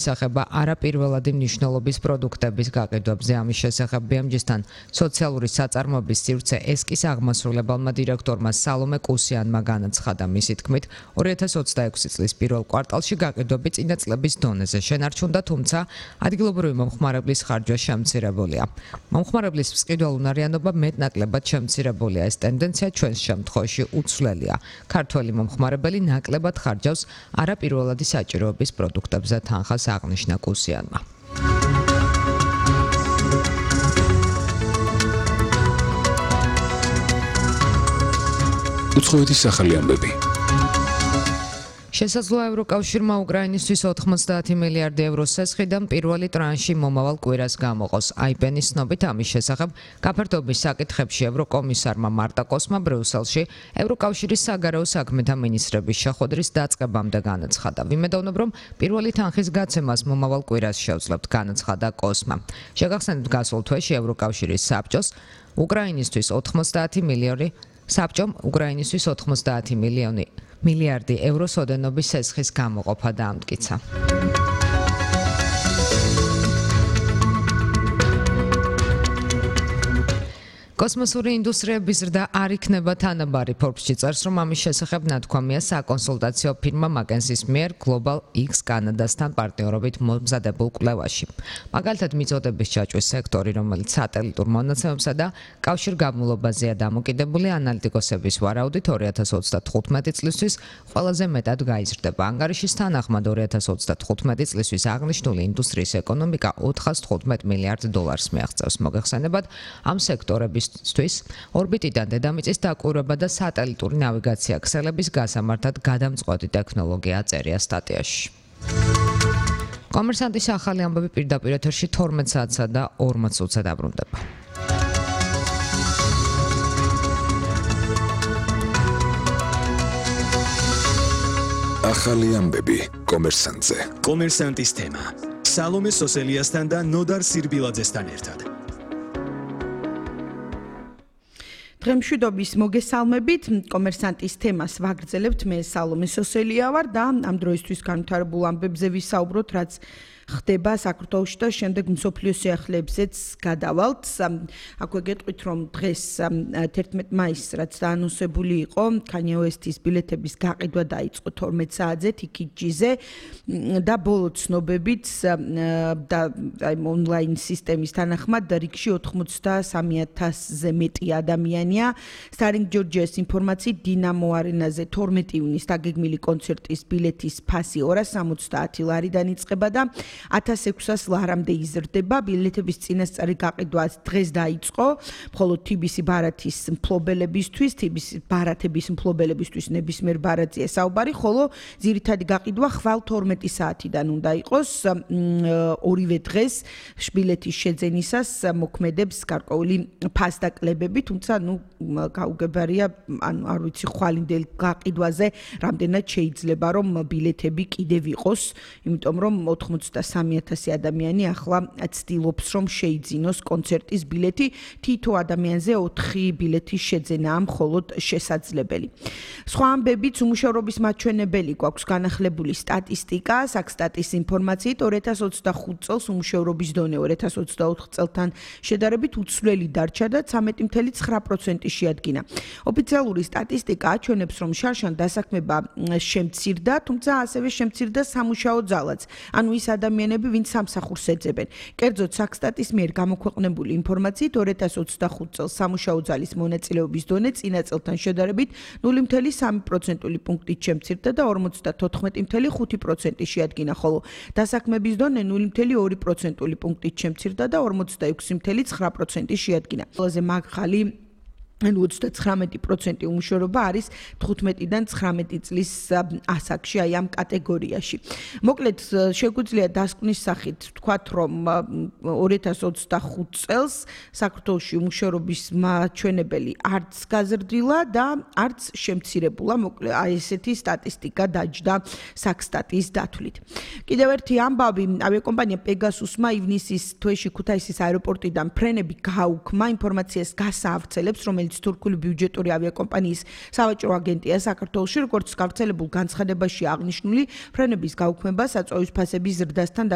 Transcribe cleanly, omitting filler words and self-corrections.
Სახება არაპირველადი მნიშვნელობის პროდუქტების გაყიდვებზე ამის შესახებ BMG-სთან სოციალური საწარმოების სივრცე ესკის აღმასრულებელმა დირექტორმა სალომე კუსიანმა განაცხადა. მისი თქმით, 2026 წლის პირველ კვარტალში გაყიდვები წინა წლების დონეზე შენარჩუნდა, თუმცა ადგილობრივი მომხმარებლის ხარჯვა შემცირებულია. მომხმარებლის მყიდველუნარიანობა მეტნაკლებად შემცირებულია. ეს ტენდენცია ჩვენს შემთხვევაში უცვლელია. ქართველი მომხმარებელი ნაკლებად ხარჯავს არაპირველადი საჭიროების პროდუქტებზე თანხას აღნიშნა კუსიანმა. უცხოეთის სახალი ამბები. შესაძლოა ევროკავშირმა უკრაინისთვის 90 მილიარდი ევროს სესხიდან პირველი ტრანში მომავალ კვირას გამოყოს. IPN-ის ცნობით ამის შესახებ გაფართოების საკითხებში ევროკომისარმა მარტა კოსმა ბრიუსელში ევროკავშირის საგარეო საქმეთა მინისტრების შეხვედრის დაწყებამდე განაცხადა. ვიმედოვნებ, რომ პირველი თანხის გაცემას მომავალ კვირას შევძლებთ, განაცხადა კოსმა. შეგახსენებთ, გასულ თვეში ევროკავშირის საბჭომ უკრაინისთვის 90 მილიარდი ევროს ოდენობის სესხის გამოყოფა დაამტკიცა. კოსმოსური ინდუსტრიების ზრდა არ იქნება თანაბარი. Forbes-ში წერს, რომ ამის შესახებ ნათქვამია საკონსულტაციო ფირმა McKinsey-ის მიერ Global X კანადასთან პარტნიორობით მომზადებულ კვლევაში. მაგალითად, მიწოდების ჩაჭვის სექტორი, რომელიც სატელიტურ მონაცემებსა და კავშირგაბმულობაზეა დამოკიდებული, ანალიტიკოსების ვარაუდით 2035 წლისთვის ყველაზე მეტად გაიზრდება. ანგარიშის თანახმად 2035 წლისთვის აღნიშნული ინდუსტრიის ეკონომიკა 415 მილიარდ დოლარს მიაღწევს. მოგეხსენებათ, ამ სექტორების ორბიტიდან დედამიწის დაკვირვება და სატელიტური ნავიგაცია ქსელების გასამართად გადამწყვეტი ტექნოლოგია წერია სტატიაში. კომერსანტის ახალი ამბები პირდაპირ ეთერში 12 საათსა და 40 წუთზე დაბრუნდება. ახალი ამბები კომერსანტზე. კომერსანტის თემა. სალომე სოსელიასთან და ნოდარ სირბილაძესთან ერთად. დღემშვიდობის მოგესალმებით, კომერსანტის თემას ვაგრძელებთ, მე სალომე სოსელია ვარ და ამ დროისთვის განვითარებულ ამბებზე ვისაუბროთ, რაც ხდება საქართველოში და შემდეგ მსოფლიო სიახლეებზეც გადავალთ. აქვე გეტყვით, რომ დღეს 11 მაისს რაც დაანონსებული იყო, Kanye West-ის ბილეთების გაყიდვა დაიწყო 12 საათზე TKG-ზე და ბოლო ცნობებით და ონლაინ სისტემის თანახმად რიგში 83,000-ზე მეტი ადამიანია. Starring Georgia's ინფორმაციით, დინამო არენაზე 12 ივნისს დაგეგმილი კონცერტის ბილეთის ფასი 270 ლარიდან იწყება და 1600 ლარამდე იზრდება. ბილეთების წინასწარი გაყიდვა დღეს დაიწყო, მხოლოდ TBC ბარათის მფლობელებისთვის, TBC ბარათების მფლობელებისთვის ნებისმიერ ბარათია საუბარი, ხოლო ძირითადი გაყიდვა ხვალ 12 საათიდან უნდა იყოს. ორივე დღეს ბილეთის შეძენისას მოქმედებს გარკვეული ფასდაკლებები, თუმცა გაუგებარია, არ ვიცი ხვალინდელ გაყიდვაზე რამდენად შეიძლება რომ ბილეთები კიდევ იყოს, იმიტომ რომ 83,000 ადამიანი ახლა ცდილობს რომ შეიძინოს კონცერტის ბილეთი. თითო ადამიანზე 4 ბილეთის შეძენაა მხოლოდ შესაძლებელი. სხვა ამბებით, უმუშევრობის მაჩვენებელი გვაქვს განახლებული სტატისტიკა, საქსტატის ინფორმაციით 2025 წელს უმუშევრობის დონე 2024 წელთან შედარებით უცვლელი დარჩა და 13.9% შეადგინა. ოფიციალური სტატისტიკა აჩვენებს, რომ შარშან დასაქმება შემცირდა, თუმცა ასევე შემცირდა სამუშაო ძალაც. ანუ ის ადამიანები, ვინც სამსახურს ეძებენ. კერძოდ, საქსტატის მიერ გამოქვეყნებული ინფორმაციით 2025 წელს სამუშაო ძალის მონაწილეობის დონე წინა წელთან შედარებით 0.3% პუნქტით შემცირდა და 54.5% შეადგინა, ხოლო დასაქმების დონე 0.2% პუნქტით შემცირდა და 46.9% შეადგინა. ყველაზე მაგხალი 29% უმუშევრობა არის 15-დან 19 წლის ასაკში, აი ამ კატეგორიაში. მოკლედ, შეგვიძლია დასკვნის სახით ვთქვათ, რომ 2025 წელს საქართველოში უმუშევრობის მაჩვენებელი არც გაზრდილა და არც შემცირებულა. მოკლედ, აი ესეთი სტატისტიკა დაჯდა საქსტატის დათვლით. კიდევ ერთი ამბავი, ავიაკომპანია პეგასუსმა ივნისის თვეში ქუთაისის აეროპორტიდან ფრენები გაუქმა, ინფორმაციას გასაავრცელებს, რომელიც რომელიც თურქული ბიუჯეტური ავიაკომპანიის სავაჭრო აგენტია საქართველოში, როგორც გავრცელებულ განცხადებაში აღნიშნული, ფრენების გაუქმება საწვავის ფასების ზრდასთან